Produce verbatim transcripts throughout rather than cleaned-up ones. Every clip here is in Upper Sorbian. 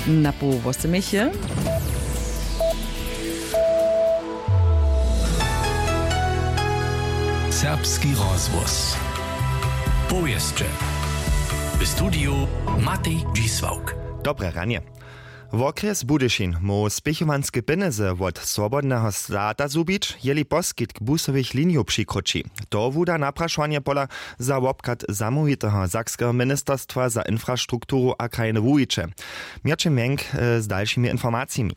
Na poł wosomich je. Serbski rozhłos. Powěsće. W studiju Matej Dźisławk. Dobre ranje. Wokrjes Budyšin móhł spěchowanske pjenjezy wot swobodneho stata zhubić, jeli poskitk busowych linijow přikroči. To wuda naprašowanje pola za wobchad zamołwiteho sakskeho ministerstwa za infrastrukturu a krajne wuwiće. Měrćin Mjenk z dalšimi informacijemi.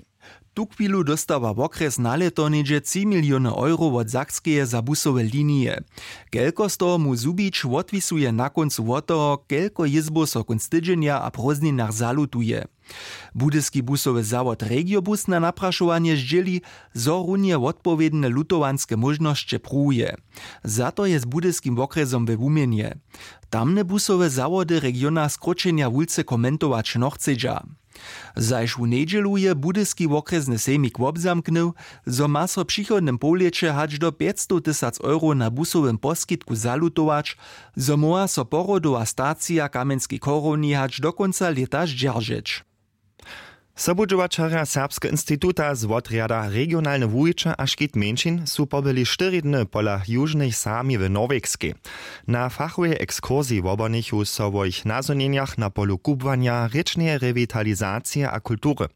Tuchwilu dóstawa wokrjes na lěto něhdźe tři miliony euro wot Sakskeje za busowe linije. Kelko z toho móhł zhubić, wotwisuje na kóncu wot toho, kelko jězbow so kónc tydźenja a prózdninach zalutuje. Budyski busowy zawod Regiobus na naprašowanje zdźěli, zo runje wotpowědne lutowanske móžnosće pruwuje. Za to je z budyskim wokrjesom we wuměnje. Tamne busowe zawody regiona skróćenja wulce komentować nochcedźa. Zašłu njedźelu je budyski wokrjesny sejmik wobzamknył, zo ma so w přichodnym połlěće hač do pjećstowtysac euro na busowym poskitku zalutować, zo móhła so porodowa stacija w kamjenskej chorowni hač do kónca lěta zdźeržeć. Sobudźěłaćerja serbskeho instituta z wotrjada regionalne wuwiće a škit mjeńšin su pobyli štyri dny pola južnych sami w norwegskej. Na fachowej ekskursiji wobonichu so wo jich nazhonjenjach na polu kubłanja, rěčneje rewitalizacije a kultury.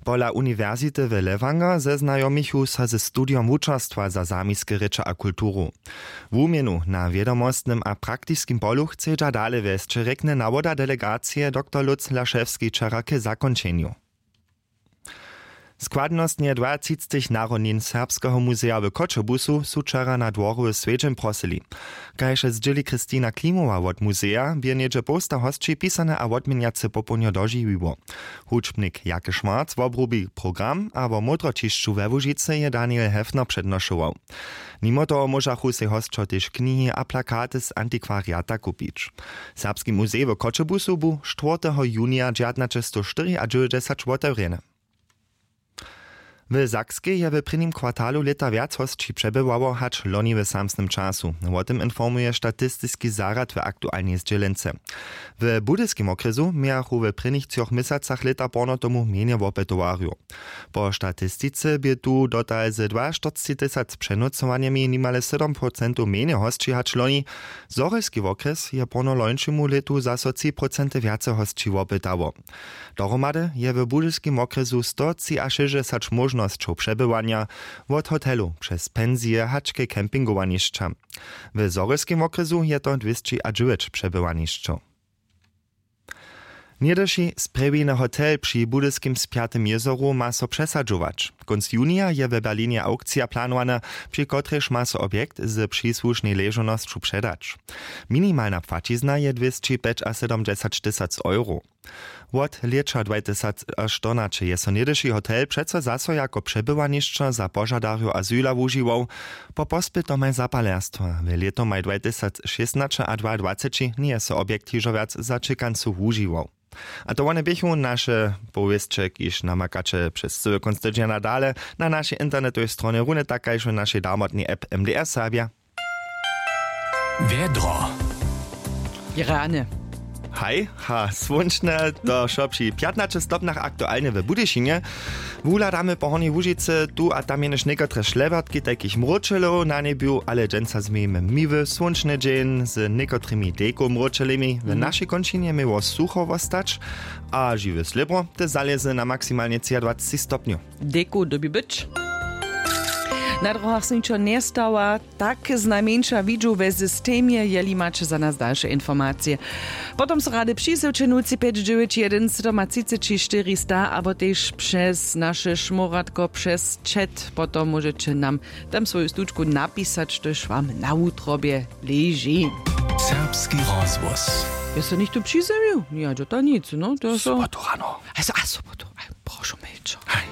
Pola uniwersity w lewanger zeznajomichu so ze studijom wučerstwa za samiske rěče a kulturu. Wuměnu na wědomostnym a praktiskim polu chcedźa dale wjesć, rjekny nawoda delegacije doktor lutz lašewski wčera k zakónčenju. Składnostnje dwatřicetich narodnin serbskeho muzeja w choćebuzu su wčera na dworju swjedźeń prosyli. Kaž zdźěli christina klimowa wot muzeja, bě něhdźe połsta hosći pisane a wotměnjace popołdnjo dožiwiło. Hudźbnik jake schwarz wobrubi program a wo módroćišću we łužicy je daniel hefner přednošował. Nimo toho móžachu sej hosćo tež knihi a plakaty z antikwariata kupić. Serbski muzej w choćebuzu bu štwórteho junija dźewjatnaćestowštyriadźewjećdźesat wotewrjeny. W sakskej je w prěnim kwartalu lěta wjac hosći přebywało hač loni w samsnym času. Wo tym informuje statistiski zarjad w aktualnej zdźělence. W budyskim wokrjesu mějachu w prěnich třoch měsacach lěta porno tomu mjenje wopytowarjow. Po statistice bě tu dotal ze dwaštyrcćitysac přenócowanjemi nimale sydom procentow mjenje hosći hač loni. Zhorjelski wokrjes je porno lońšemu lětu zaso tři procenty wjace hosći wopytało. Dohromady je w budyskim wokrjesu stotřiašěsćdźesat móžnosćow přebywanja, wot hotelu přez pensije hač ke campingowanišća. W zhorjelskim wokrjesu je to dwěsćiadźewjeć přebywanišćow. Něhdyši sprjewiny hotel při budyskim spjatym jězoru ma so přesadźować. Kónc junija je w berlinje awkcija planowana, při kotrejž ma so objekt z přisłušnej ležownosću předać. Minimalna płaćizna je dwěsćipjećasydomdźesattysac euro. Wot lěća dwajtysac aštornaće je so něhdyši hotel přeco zaso jako přebywanišćo za požadarjow azyla wužiwał. Po pospytomaj zapalerstwa w lětomaj dwajtysac šěsnaće a dwaadwaceći njeje so objekt hižo wjac za ćěkancu wužiwał. A to wone běchu naše powěsće, kiž namakaće přez cyły kónc tydźenja dale na našej internetowej stronje, runje tak kaž w našej damotnej app mdr serbja. Wjedro. Rane. Haj, ha słónčne, to wšo při pjatnaće stopnjach aktualnje w budyšinje. Wuhladamy po hornjej łužicy, tu a tam jenož někotre šlewertki tajkich mróčelow na njebju, ale dźensa změjimy miły słónčny dźeń z někotrymi dejkow mróčelemi. W našej kónčinje měło sucho wostać a žiwe slěbro te zalězy na maksimalnje třiadwaceći stopnjow. Dejkow dyrbi być. Na drohach so ničo njestawa. Tak znajmjeńša widźu we systemje, jeli maće za nas dalše informacije, potom so rady přisywće nulci pjeć dźewjeć jedyn sydomatřiceći štyri sta abo tež přez naše šmóratko přez chat. Potom móžeće nam tam swoju stučku napisać, štož wam na wutrobje leži. Serbski rozhłos. Je so něchtó přizjewił? Ja dźota nic, no to je so. Sobotu rano. A so, a sobotu. Aj, prošu, milčo. Aj.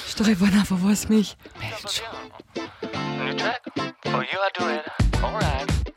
Što je wona wo wosmich? Milčo. New track? Oh, you are doing alright.